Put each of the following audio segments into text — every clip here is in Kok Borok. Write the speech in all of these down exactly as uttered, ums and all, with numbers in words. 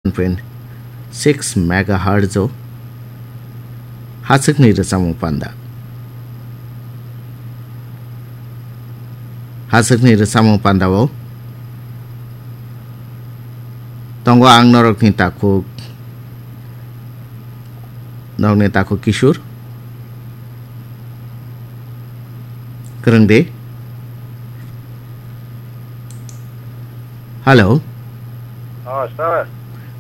point six megahertz o hachwkni rwchapmung panda. Hachwkni rwchapmung panda o tongo ang norokni takhuk, norokni takhuk Kishore. Kwrwng de. Hello. Oh, sir.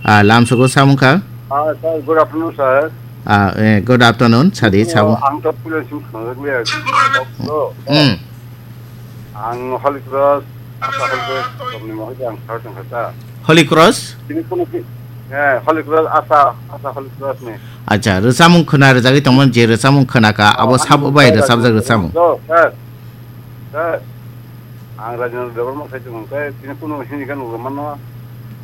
Ah, lamsogo samung kha? Ah, sir, good afternoon, sir. Ah, eh, good afternoon, sadi. Oh, samung. Ang to puila sing khongrok le. Hmm. Ang Holy Cross, Asa Holy Cross, tongni mohai ang sir tong kha. Holy Cross? Tini kuno ki, eh, Holy Cross, Asa, Asa Holy Cross ni. Acha, rwchapmung khwna rwjagwi tongmani, je rwchapmung khwna kha, abo sabo bai rwchapjak rwchapmung. Sir, sir. Ang Rajendra Debbarma sai tong khe, tini kuno hini khe nugo mano.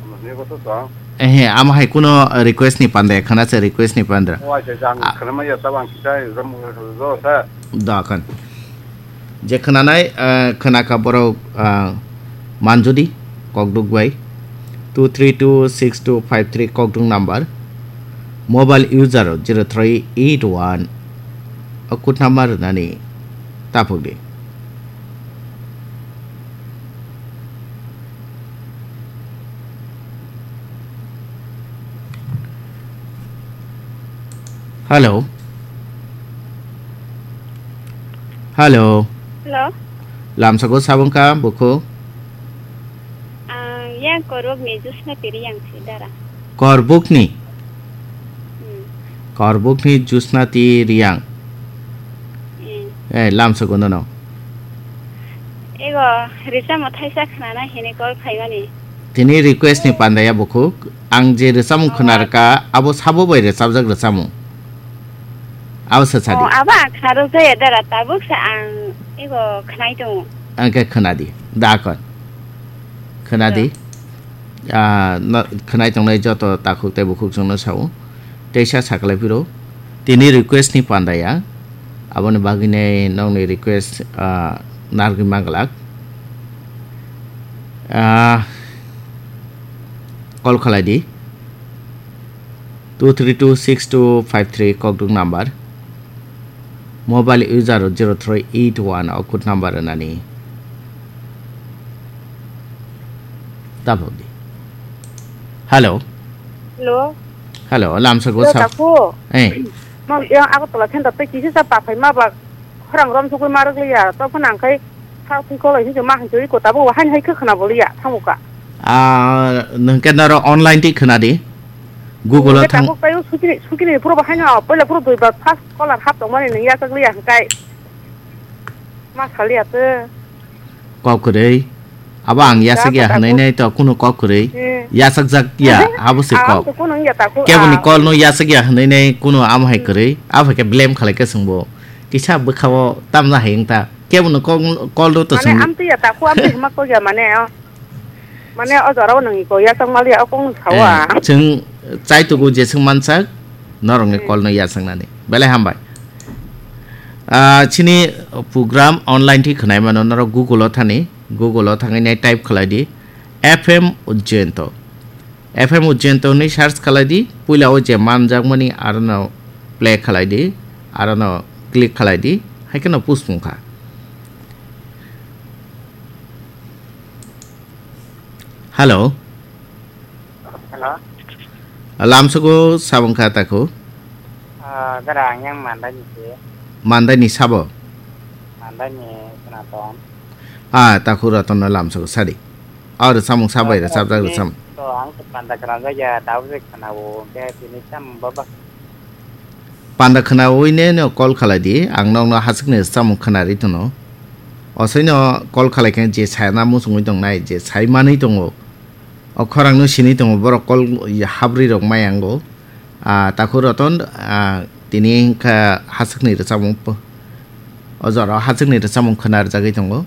Ano hini ko to tong. Ehe, amo hai kuno request ni panda khwna se, request ni panda. O acha, jang khwna ma ya tabang kisai ram do sir. Da khan. Je khwnanai, eh, khwnakha borok, ah, manjudi kokduk bai two three two six two five three kokduk number, mobile user zero three eight one o code number rwnani taphukdi. Hello. Hello. Hello. Lamsako sabung ka buku? Ah, yang korok ni jusna piri yang si dara. Korbukni? Hmm. Korbukni jusna ti riang. Hmm. Eh, lamsako nono. Ego, risa mo thaisa khnana hini call khaimani. Tini request ni panda ya bukhuk. Ang je rwchapmung khwna rwkha, abo sabo bai rwchapjak rwchapmung. Abo sa sadi. Oh, abo ang khna rwjaya dara, tabuk sa ang ego khnai tongo. Ang khe khna di, da kon. Khna di. Ah, no, khnai tongnai joto takhuk tei bukhuk chwngno sao. Teisa saklai phiro. Tini request ni panda ya. Aboni bagwi nei nokni request, ah, narwgwi manglak. Ah, call khalai di. Two three two six two five three kokduk number. Mobile user zero three eight one o code number rwnani. Tabuk di. Hello. Hello. Hello, lamsako sa. Hello, taku. Eh. Mang yang Agartala thenda tei kisi sa paphai ma ba khorang rom sugui ma rwgli ya. To phana ang khai Sa twi kolai hinjo ma hinjo iko tabuk wa haini hai khe khwna boliya thango ka. Ah, nwng khe noro online twi khwna di. Google o thang. Tabuk tayo sukini, sukini puro bo haino, poila puro dui ba first caller hap tongmani nwng yachak liya hwnkhe. Ma saliya twi. Kok kwrwi. Abo ang yachak ya hwnwi nai to kuno kok kwrwi. Yachak jak ya, abo se kok. Keboni call no yachak ya hwnwi nai kuno amo hai kwrwi. Abo khe blame khalai khe chwngbo. Kisa bwkha o tamna hai wng ta. Kebo no kok, call rw to. Mane sung. Amtwi ya taku amtwi hima kok ya mane, oh. Mane o jora o nang iko ya tong mali ya o kong sawa. Eh, chwng chai tugu je sung mansak, norok ni call no ya sangnani. Belai hambai. Ah, chini program online thi khwnai mano norok Google o thani, Google o thangwi nai type khlai di, F M Ujjayanto. F M Ujjayanto hwnwi search khlai di, puila o je manjakmani arono play khlai di, arono click khlai di, hai kheno push wng kha. Hello. Hello. Lamsogo sabong kha takhu. Ah, gara ang yang mandai ni se. Mandai ni sabo. Mandai ni Senaton. Ah, takhu Raton no lamsogo sadi. Aw rwchapmung sabai rwchapjak rwchapmung. To ang to panda khwnajak ya, tabuk se khwnao, hwnkhe tini tamo baba. Panda khwnawi ne no call khalai di, ang nokno hasukni rwchapmung khwnari tono. Osoino call khalai khe je sana muchungwi tongnai, je sai manwi tongo. O khorangno sini tongo, borok call habri rok mai ango. Ah, takhu Raton, ah, tini wngkha hasukni rwchapmung po-, o jora o hasukni rwchapmung khwna rwjagwi tongo.